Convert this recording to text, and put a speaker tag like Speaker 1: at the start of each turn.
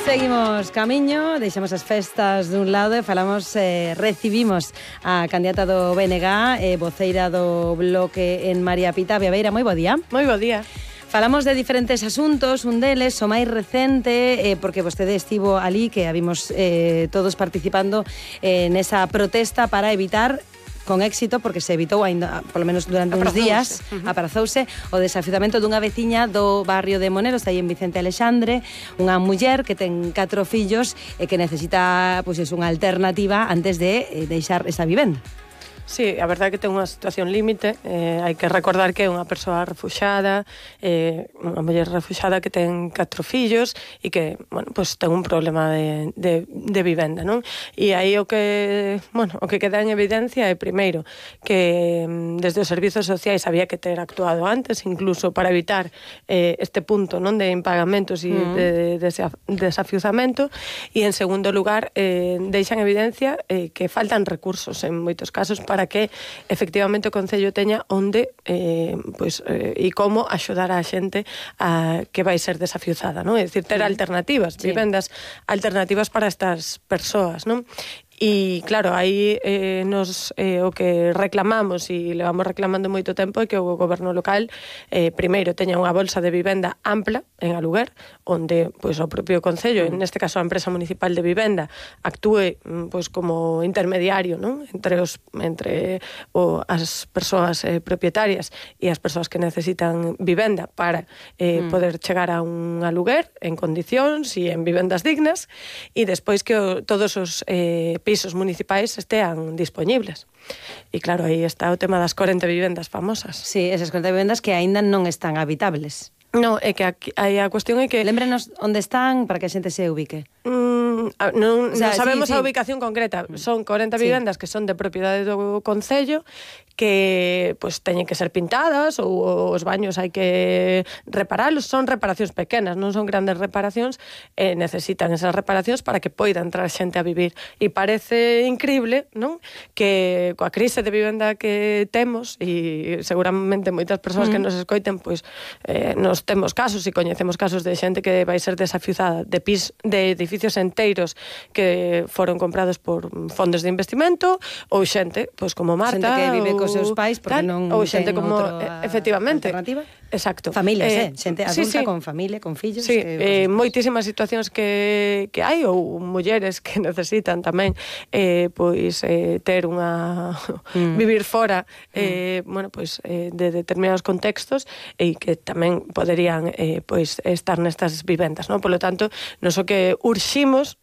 Speaker 1: Seguimos camiño, deixamos as festas dun lado e recibimos a candidata do BNG, voceira do Bloque en María Pita. Beabeira, moi bo día.
Speaker 2: Moi bo día.
Speaker 1: Falamos de diferentes asuntos, un deles, o máis recente, porque vostede estivo ali, que habimos todos participando nesa protesta para evitar con éxito, porque se evitou ainda, polo menos durante uns días, aprazouse o desafiuzamento dunha veciña do barrio de Monero, está aí en Vicente Alexandre, unha muller que ten 4 fillos e que necesita unha alternativa antes de deixar esa vivenda.
Speaker 2: Sí, a verdade é que ten unha situación límite, hai que recordar que é unha persoa refuxada, unha muller refuxada que ten 4 fillos e que, bueno, pues ten un problema de vivenda, non? E aí o que queda en evidencia é, primeiro, que desde os servizos sociais había que ter actuado antes, incluso para evitar este punto, non, de impagamentos e de desafiuzamento, e en segundo lugar, deixan evidencia que faltan recursos en moitos casos para que efectivamente o Concello teña onde e como axudar a xente que vai ser desafiuzada, non? É dicir, ter alternativas, vivendas alternativas para estas persoas, non? E claro, aí o que reclamamos e levamos reclamando moito tempo é que o goberno local primeiro teña unha bolsa de vivenda ampla en aluguer, onde o propio Concello, neste caso a empresa municipal de vivenda, actúe como intermediario, non? entre as persoas propietarias e as persoas que necesitan vivenda para poder chegar a un aluguer en condicións e en vivendas dignas, e despois que todos os pisos municipais estean dispoñibles. E claro, aí está o tema das 40 vivendas famosas.
Speaker 1: Sí, esas 40 vivendas que aínda non están habitables.
Speaker 2: Non, é que a cuestión é que...
Speaker 1: Lémbrenos onde están para que a xente se ubique.
Speaker 2: Non sabemos a ubicación concreta. Son 40 vivendas que son de propiedade do Concello, que teñen que ser pintadas ou os baños hai que reparalos. Son reparacións pequenas, non son grandes reparacións, e necesitan esas reparacións para que poida entrar xente a vivir. E parece increíble, non? Que coa crise de vivenda que temos, e seguramente moitas persoas que nos escoiten, nos temos casos e coñecemos casos de xente que vai ser desafiuzada de edificios enteiros que foron comprados por fondos de investimento, ou xente, como Marta,
Speaker 1: xente que vive cos seus pais porque non ten outra alternativa.
Speaker 2: Exacto.
Speaker 1: Familias, xente adulta con familia, con fillos.
Speaker 2: Sí, moitísimas situacións que hai, ou mulleres que necesitan tamén ter unha vivir fora de determinados contextos e que tamén poderían estar nestas vivendas, non? Por lo tanto, nos o que urximos